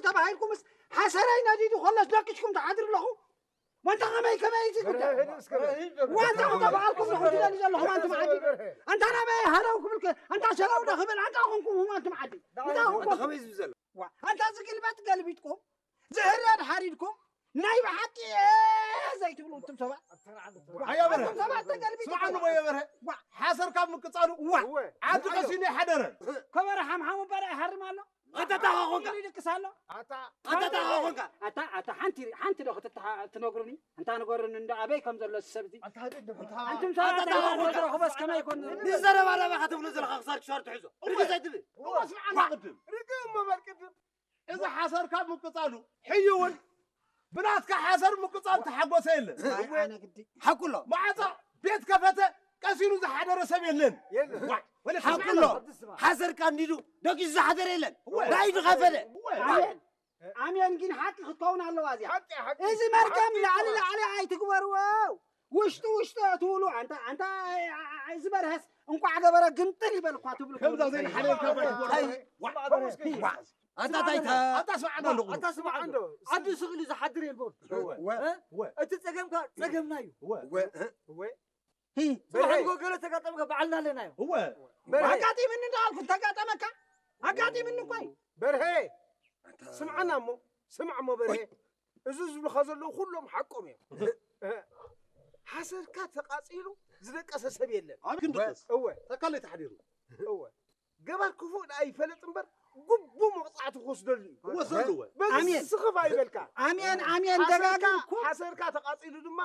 ተባሂልኩምስ ሓሰረይ ነዲዱ ከሎስ ደቂስኩም ትሓድሩ ኣለኹ። ወንታ ከመይ ከመይ እዚ ጉዳይ? ወንታ ተባልኩም ትደሊ ዘለኹም ኣንቱም ዓዲ። ኣንታ ናበይ ሃለው ክብልከ? ኣንታ ሸለው ዶ ክብል? ኣንታ ኮንኩም ኣንቱም ዓዲ። ኣንታ ኮንኩም ከመይ ዝብል ዘሎ? ዋ፣ ኣንታ ዝግልበጥ ገልቢጥኩም፣ ዝህረድ ሓሪድኩም፣ ናይ ብሓቂ እየ ዘይትብሉ ኣንቱም ሰባት። ኣያ በርሀ፣ ኣንቱም ሰባት ተገልቢጥኩም። ስምዓኒ እሞ ኣያ በርሀ፣ ዋ። ሓሰር ካብ ምቅጻሉ፣ ዋ። ዓዲ ቀሲኑ ይሓደረ። ከበረ ሓምሓሙ በረ ይሃርም ኣሎ። ኣንታ እንታይ ኮንካ? ኢሉ ይድቅስ ኣሎ። ኣታ ኣታ እንታይ ኮንካ? ኣታ፣ ኣታ ሓንቲ፣ ሓንቲ ዶ ክትትሓ-፣ ትነግሩኒ? ኣንታ ንገሩኒ እንዶ ኣበይ ከም ዘሎ እቲ ሰብ እዚ። ኣንቱም ሰባት ኣታ እንታይ ኮንካ? ትረኽቦስ ከመይ ይኮን? ንዘረባ ረባ ከተብሎ ዘለኻ ክሳር ክሻር ትሕዞ። ርግእ ዘይትብል። እሞ ስምዓና ቅድም። ርግእ እሞ በል ቅድም። እዚ ሓሰር ካብ ምቅጻሉ፣ ሕዩ እውን ብናትካ ሓሰር ምቅጻል ተሓጎሰ የለን። ኣይ፣ ኣነ ግዲ። ሓቁ ኣሎ። ማዕጾ ቤት ከፈተ ቀሲኑ ዝሓደረ ሰብ የለን። የለን። ዋ፣ ወለ ሓቁ ኣሎ። ሓሰር ቀንዲዱ ደቂሱ ዝሓደረ የለን። እወ። ናይ ድኸፈለ። እወ። ኣሜን። ኣሜን። ግን ሓቂ ክትከውን ኣለዋ እዚኣ። ሓቂ፣ ሓቂ። እዚ መርገም ሓቂ ላዕሊ ይኮና። ላዕሊ ኣይትግበርዎ። ውሽጢ ውሽጢ ትብሉ ኣንታ፣ ኣንታ፣ እ፣ እ፣ እዚ በርሀስ እንቋዕ ገበረ ግንጥል ይበል እኳ ትብሉ ከምዛ ትብሉ። ዘይንሓለልካ ባሽ ኣይ፣ ዋ፣ ዋ፣ ኣታ ታይታ። ኣታ ስምዓና ኣለኹ። ኣታ ስምዓና። ኣዲ ስቕ ኢሉ ዝሓድር የልቦን። እወ። እ? እወ። እቲ ጸገምካ ጸገምና እዩ። እወ። እወ። እወ። ጽባሕ በርሀ። ንጎ ገለ ተጋጠምካ ባዕልና ኣለና እዩ። እወ። በርሀ። ኣጋጢምኒ እንዳልኩ ተጋጠመካ? ኣጋጢምኒ እኮ እዩ። በርሀ። ስምዓና እሞ፣ ስማዕ እሞ በርሀ። እዚ ዝብልኻ ዘለዉ ኩሎም ሓቆም እዮም። እ፣ ሓሰድካ ተቃጺሉ ዝደቀሰ ሰብ የለን። ኣብ ክንድቅስ። እወ። ተካለይ ተሓዲሩ። እወ። ገባር ክፉእ ደኣ ይፈለጥ እምበር፣ ግቡእ መቕጻዕቲ ክወስደሉ እዩ። ክወስደሉ እወ። በዚ ኣሜን። ስኽፍ ኣይበልካ። ኣሜን፣ ኣሜን፣ ሓሰድካ፣ ደጋጊምኩም። ሓሰድካ ተቃጺሉ ድማ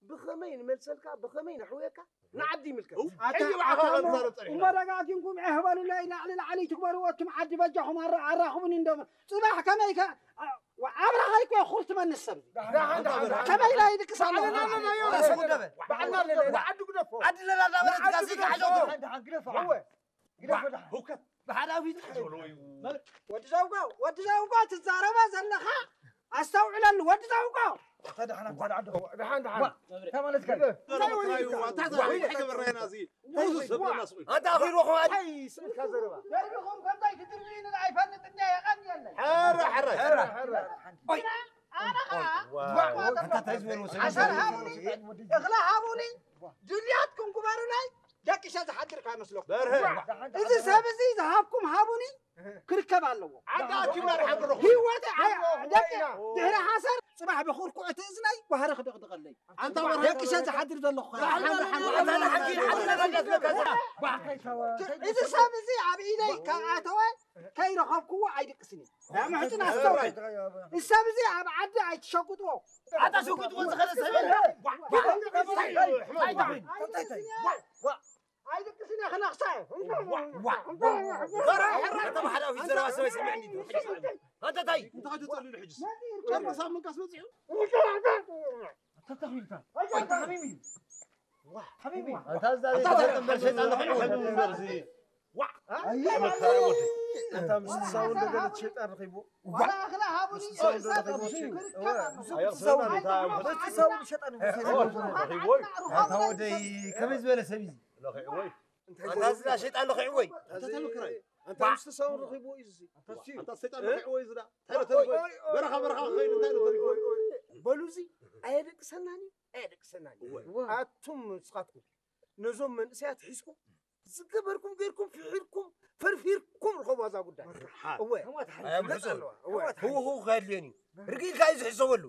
ብኸመይ ንመልሰልካ፣ ብኸመይ ነሕውየካ፣ ንዓዲ ይምልከት። እው። ኣታ-፣ ሕጂ ብዓኻ ኣታ እሞ፣ ክዛረብ ጸኒሕና። እሞ ደጋጊምኩም ዕህ በሉለይ፣ ላዕሊ ላዕሊ ትግበርዎ፣ እቱም ዓዲ በጃኹም ኣራ-፣ ኣራኽቡኒ እንዶ። ጽባሕ ከመይ ከ-፣ ኣ-፣ ኣብራኻይ እኮ ኩርትመኒ ሰብ። ደሓን፣ ደሓን፣ ደሓን። ከመይ ኢላ ይድቅስ ኣለኹ? ባዕልና ኣለና፣ ባዕልና ኣለና፣ ንዓዲ ግደፎ። ዓዲ ኣለና፣ እናበለት ንዓዲ ጋዜጣ ግደፎ። ሓሸውቲ። ደሓን፣ ደሓን፣ ግደፎ። እወ። ግደፎ፣ ደሓን። ህውከት። ብሓዳዊት ሓሸውሎ እዩ። ወዲ ዘውጎ፣ ወዲ ዘውጎ ትዛረባ ዘለኻ ኣስተውዕለሉ፣ ወዲ ዘውጎ። ተደሓን፣ ተደሓን፣ ደሓን፣ ደሓን። ዋ፣ እንታይ ማለት ከ? እንታይ ወይ እንታይ? እንታይ ወይ እንታይ? እንታይ ገበርና ኢና እዚ? እንታይ ወይ? ሰብ ዋ። እናስቑ። ኣታ ኣኺሉ ኹም ኣዲ-፣ እንታይ ስእልካ ዘረባ? ደርቢኹም ከምታይ ትድርብዩኒ ኣይፈልጥ እንድየ፣ የቐንየለይ። ሕረ፣ ሕረ። ሕረ፣ ሕረ። ኣነ ኸዓ ዋ። ዋ። ኣታ እንታይ ዝበልዎ ሰብ? ሓሰር ሃቡኒ፣ እኽሊ ሃቡኒ፣ ድልያትኩም ግበሩለይ፣ ደቂሰ ዝሓድር ከይመስለኩም። በርሀ። ዋ። እዚ ሰብ እዚ ዝሃብኩም ሃቡኒ፣ ክርከብ ኣለዎ። ዓዲ ኣኪብና ንሓብሮ። ህይወት ዓ-፣ ደቂ ወይና። ድሕሪ ሓሰር ጽባሕ ብኹርኩዕ እቲ እዝነይ ባህሪ ክድቕድቐለይ። ኣንታ በርሀ። ደቂሰ ዝሓድር ዘለኹ። ሓንቲ፣ ሓንቲ፣ ሓንቲ፣ ሓንቲ፣ ሓንቲ፣ ሓንቲ፣ እዚ ሰብ እዚ ኣብ ኢደይ ካብ ኣተወ ከይረኸብክዎ ኣይድቅስን እየ። ያ ምሕጽን ኣስተውዕል። እዚ ሰብ እዚ ኣብ ዓዲ ኣይትሸጉጥዎ። ኣታ ሸጉጥዎ ዝኸደ ሰብ የለ። ኣይድቅስን እየ ክነኽሳ። ዋ፣ ዋ፣ ዋ። በራ፣ ሕራ፣ ተባህላዊ ዘረባ ሰበይ ስምዕኒ። ኣንተ ታይ? እንታይ ትጸልሉ ሕጅስ? ጨርሳ ምንካስ መጽዩ? ኣታ ተኽሊልካ። ኣታ ሓሚሚ። ሓሚሚ። ኣታ እዛ ዘይተጠንበር ሸይጣን ንኽዕወት። ዋ። ኣታ ምስ ሳውን ደገለ ሸይጣን ረኺቡ። ዋላ ኣኽላ ሃቡኒ። ኣታ ወደይ ከመይ ዝበለ ሰብ እዩ? ኣታ እዛ ሸይጣን ለኺዕዎ እዩ። ኣታ ተመክራይ። ኣታ ምስ ሳውን ረኺቡ እዩ እዚ። ኣታ ሰይጣን ለኺዕዎ እዩ ዝዳ። እንታይ ተሪፎ? በረኻ በረኻ ክኸይድ እንታይ ተሪፎ? በሉ እዚ ኣየደቅሰናን እዩ፣ ኣየደቅሰናን እዩ። ኣቱም ንስኻትኩም ነዞም መንእሰያት ሒዝኩም ዝገበርኩም ገይርኩም ፍሒርኩም ፈርፊርኩም ርኸቡ ኣዛ ጉዳይ። እወ። ኣያ ምሕጹ። እወ። ህውህው ከድልዮን እዩ። ርግኢልካ እዩ ዝሕሰበሉ።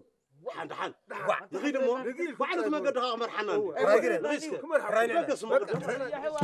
ሓን፣ ሓን። ዋ፣ ንኺድ እሞ፣ ርግኢልካ ባዕሉ እቲ እዩ። መገዲ ኸዓ ክመርሓና እዩ። እወ። ራይ ግረ። ራይ እስከ። ክመርሓና። ራይ በገስ መገዲ። በቃ።